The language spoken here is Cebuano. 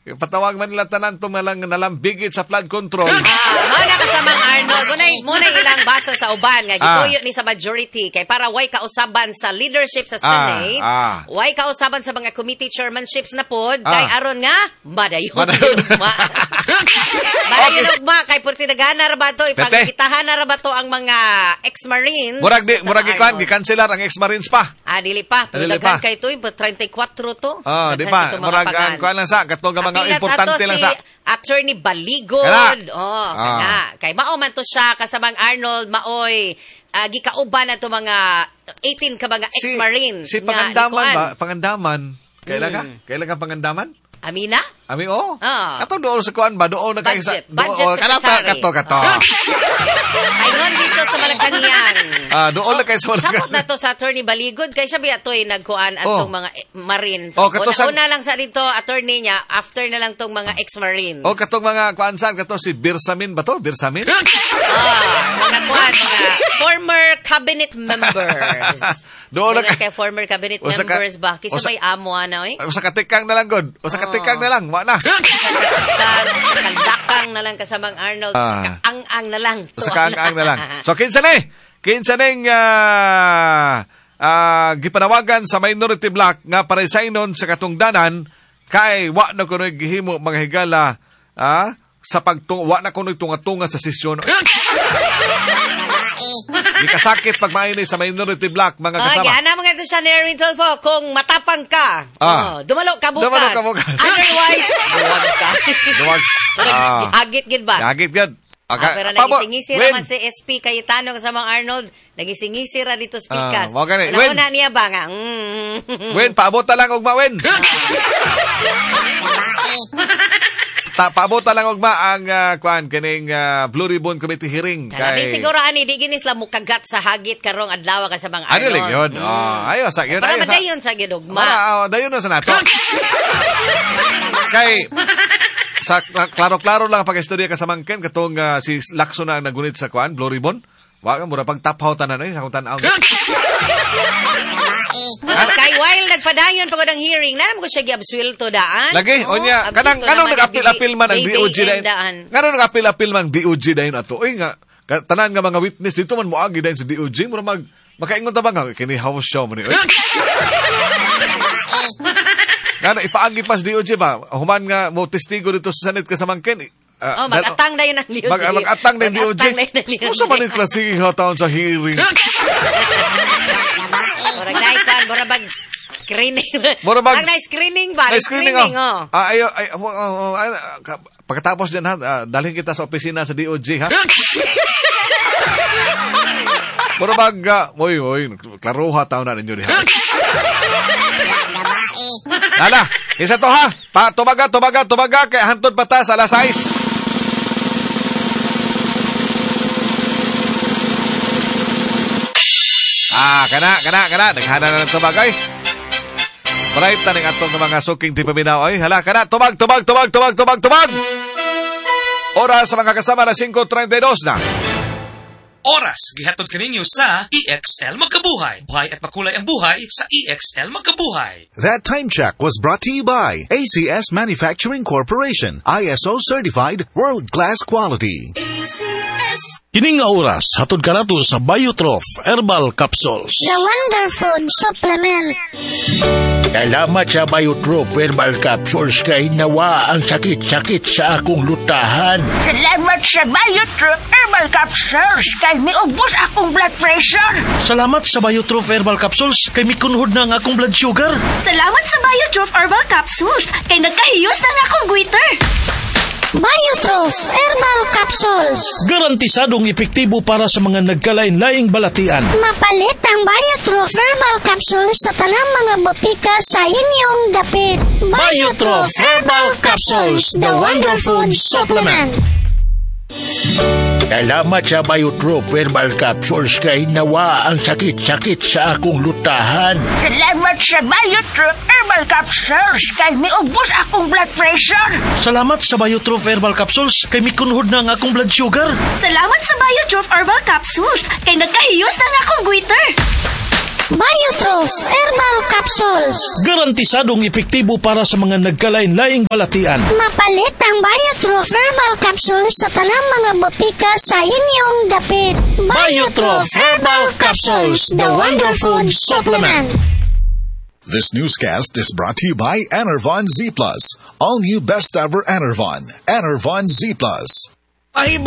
Patawag man nila tanan itong nalambigit sa flood control. Mao na kasamang Arnold, muna ilang basa sa uban nga gituyo ni sa majority kay para way kausaban sa leadership sa Senate, way kausaban sa mga committee chairmanships na pod kay aron nga madayon ugma. Madayon ugma kay purti dagana ra ba to, ipangitahan na ra ba to ang mga ex-marines. Murag di murag ikuan gikanselar ang ex-marines pa. Dili pa, pero daghan kay to 34 to. Di pa, murag ang kuan lang sa katong mga importante lang sa Attorney Baligod. Oh, kana. Kay mao man to siya kasamang Arnold, maoy gikauban na to mga 18 ka mga ex-marines. Si Pangandaman ba? Pangandaman. Kailan ka? Kailan ka Pangandaman? Amina? Ami, oh. Kato doon sa kuan ba? Doon na kay sa budget secretary. Kato. Ay, dito sa Malacanang. Doon na kay sa Malacanang. Sapot na to sa Attorney Baligod kay siya biya to'y nagkuan atong mga marines. Una lang sa dito attorney niya, after na lang tong mga ex-marines. O katong mga kuan saan kato si Birsamin ba to? Birsamin? Mga kuan, mga former cabinet members. Doon na kay former cabinet members ba? Kisa may amo ana oy. Usa ka tikang na lang god. Usa ka tikang na lang, wa na. Kaldakang na lang kasamang Arnold, kaang-ang na lang. Usa kaang-ang na lang. So kinsa ni? Kinsa ning gipanawagan sa minority bloc nga paresignon sa katungdanan kay wa na kunoy gihimo mga higala sa pagtung wa na kunoy tunga-tunga sa sesyon. Gikasakit pag maini sa minority bloc mga kasama. Okay, ana mga ito siya ni Erwin Tulfo, kung matapang ka, dumalo ka bukas. Dumalo ka bukas. Otherwise, duwag ka. Duwag. Agit gid ba? Agit gid. Okay. Pero nagisingisi raman si SP Cayetano kasamang Arnold, nagisingisi ra dito speakers. Una niya ba nga? Wen, paabot ta lang ugma, Wen. Paabot ta lang ugma ang kuan kining Blue Ribbon Committee hearing kay siguro ani di gini sila mukagat sa hagit karong adlaw kasamang Arnold. Ano lang yun? Ayo sa yun. Para madayon sa gyud ugma. Para dayon na sa nato. Kay sa klaro-klaro lang pag-istorya kasamang Ken katong si Lacson na ang nagunit sa kuan Blue Ribbon. Wa ka mura pag taphaw tanan ay sa akong tan-aw. Kay while nagpadayon pagod ang hearing, na mo siya giabsuelto daan. Lagi, onya, kanang kanong nag-apil-apil man ang DOJ dayon. Nganong nag-apil-apil man DOJ dayon ato. Oy nga tanan nga mga witness dito man moagi dayon sa DOJ, mura mag makaingon ta ba nga kini house show man ni. Ngano ipaagi pas DOJ ba? Human nga mo testigo dito sa Senate kasamang Ken. Mag-atang dayon ang DOJ. Mag-atang dayon DOJ. Usa man ni klase taon sa hearing. Murag naikan, murag bag screening. Murag na screening ba? Na-screening, oh. Ay, pagkatapos dyan, ha, dalhin kita sa opisina sa DOJ, ha? Murag bag, oy, klaruha taon na ninyo diha. Nala, isa to ha. Pa, tumaga, kay hantod pa ta sa alas 6. Kana. Naghana na ng tubag, ay. Bright na ng atong mga suking tipaminaw, ay. Hala, kana. Tubag. Oras sa mga kasama na 5:32 na. Oras, gihatod kaninyo sa EXL Magkabuhay. Buhay at makulay ang buhay sa EXL Magkabuhay. That time check was brought to you by ACS Manufacturing Corporation. ISO certified, world-class quality. ACS. Kini nga oras, hatod kanato sa Biotroph Herbal Capsules. The Wonderfood Supplement. Salamat sa Biotroph Herbal Capsules kay nawa ang sakit-sakit sa akong lutahan. Salamat sa Biotroph Herbal Capsules kay miubos akong blood pressure. Salamat sa Biotroph Herbal Capsules kay mikunhod na ang akong blood sugar. Salamat sa Biotroph Herbal Capsules kay nagkahiyos na ang akong goiter. Biotroph Herbal Capsules. Garantisadong epektibo para sa mga nagkalain-laing balatian. Mapalit ang Biotroph Herbal Capsules sa tanang mga botika sa inyong dapit. Biotroph Herbal Capsules, the Wonderfood Supplement. Salamat sa Biotroph Herbal Capsules kay nawa ang sakit-sakit sa akong lutahan. Salamat sa Biotroph Herbal Capsules kay miubos akong blood pressure. Salamat sa Biotroph Herbal Capsules kay mikunhod na ang akong blood sugar. Salamat sa Biotroph Herbal Capsules kay nagkahiyos na ang akong goiter. Biotroph Herbal Capsules. Garantisadong epektibo para sa mga nagkalain-laing balatian. Mapalit ang Biotroph Herbal Capsules sa tanang mga botika sa inyong dapit. Biotroph Herbal Capsules, the Wonder Food Supplement. This newscast is brought to you by Enervon Z Plus. All new best ever Enervon. Enervon Z Plus. Mahibay